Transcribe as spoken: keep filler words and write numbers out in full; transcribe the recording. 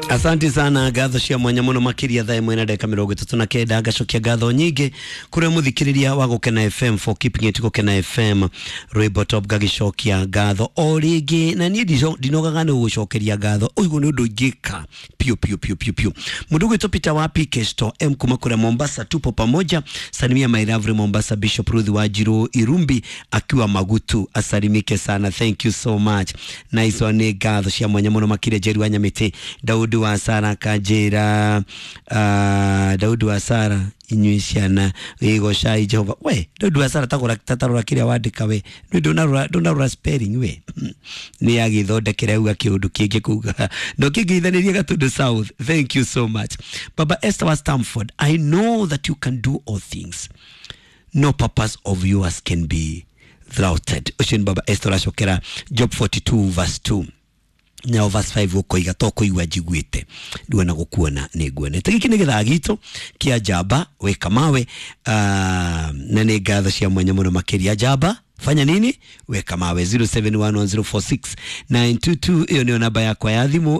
Asante sana, ngatho cia mwanya muno makiria. Thaa ĩmwe na ndagĩka mĩrongo ĩtatũ na kenda, ngacokia ngatho nyingĩ kũrĩa mũthikĩrĩria wa Gũkena F M for keeping it Gũkena F M. Rwĩmbo top, ngagicokia ngatho o rĩngĩ, na niĩ ndico- ndinogaga nĩ gũgũcokeria ngatho. Ũguo nĩ ũndũ ingĩka piũ piũ piũ piũ piũ. Mũndũ ũgwĩtwo Peter wa P K Store M kuma kũrĩa Mombasa, tupo pamoja. Salimia my lovely Mombasa Bishop Ruth Wanjiru Irumbi akiwa Magutu, asalimike sana. Thank you so much. Nice one. Nĩ ngatho cia mwanya mũno makĩria. Jerry wa Nyamĩtĩ, Daudi wa Sara kanjĩra, uh, Daudi wa Sara, inyuĩ ciana gĩgocai Jehova. We Daudi wa Sara, tagũra tatarora kĩrĩa wandĩka. We nĩ ndũnarora, ndũnarora spelling. We nĩ agĩthondekera uga kĩũndũ kĩngĩ kuga no kĩngĩithanĩria Gatundu South. Thank you so much. Baba Esther wa Stamford, I know that you can do all things, no purpose of yours can be thwarted. Ũcio nĩ Baba Esther ũracokera Job forty-two verse two nao verse five, ũkoiga to kũigua njiguĩte rĩu ona gũkuona nĩ nguonete. Gĩkĩ nĩ gĩthaa gitũ kĩa njamba wĩka mawe, uh, na nĩ ngatho cia mwanya mũno makĩria. Njamba fanya nini? Weka mawe. zero seven one one zero four six nine two two, ĩyo nĩyo namba yakwa ya thimũ.